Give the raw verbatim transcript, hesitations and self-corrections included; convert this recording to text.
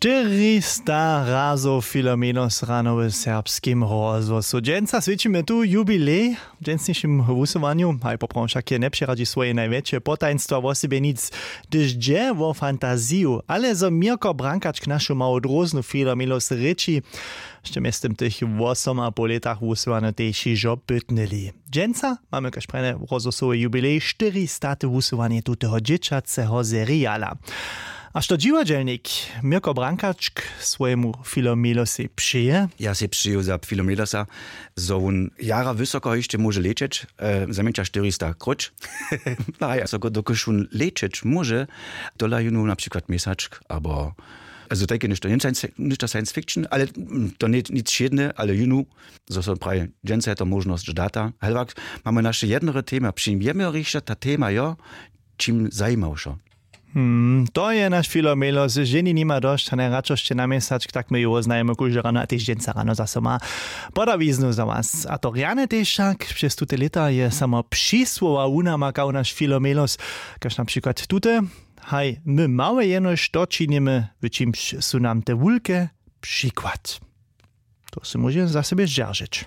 Štyrista razow filomenos rano w serbskim rozhłosu dźensa swěćimy tu jubilej. W dźensnišim wusyłanju haj poprawom wšak je njepřeradźi swoje najwjetše potajnstwa wosebje nic, hdyž dźe wo fantaziju ale zo měrko brankačk našu mało dróznu filomenos rěči, sće mjeztym tych wosom a poł lětach wusyłano tež hižo pytnyli. Dźensa mamy kaž prjene rozhłosowy jubilej štyristaty wusyłanje tuteho dźěćaceho seriala. A što dźiwadźelnik měrko brankačk swojemu filomelosej přeje? Ja sej přeju za filomelosa, zo wón jara wysoko hišće móže lećeć, e, zajmjeńća štyrista króć. A ja so go dokelž wón lećeć móže, tola jónu na přikład měsačk abo, also tajke něšto něšto science fiction ale, mm, to ně nic wšědne ale jónu, zo so praji dźensa je to móžnosć data helwak. Mamy naše jednore tema přijmjemy rišće ta tema jo, čim zajimał so. Hmm, to je naš filomelos, ženi nima dosć a najradšo sće na měsačk tak my ju woznajemy kóžde rano a tež dźensa rano zaso ma. Podawiznu za was a to rjane tež wšak přez tute lěta je samo přisłowa wunamakał naš filomelos, kaž na přikład tute: haj my małe jenož to činimy, w čimž su nam te wulke přikład. To sy móže za sebje zdźeržeć.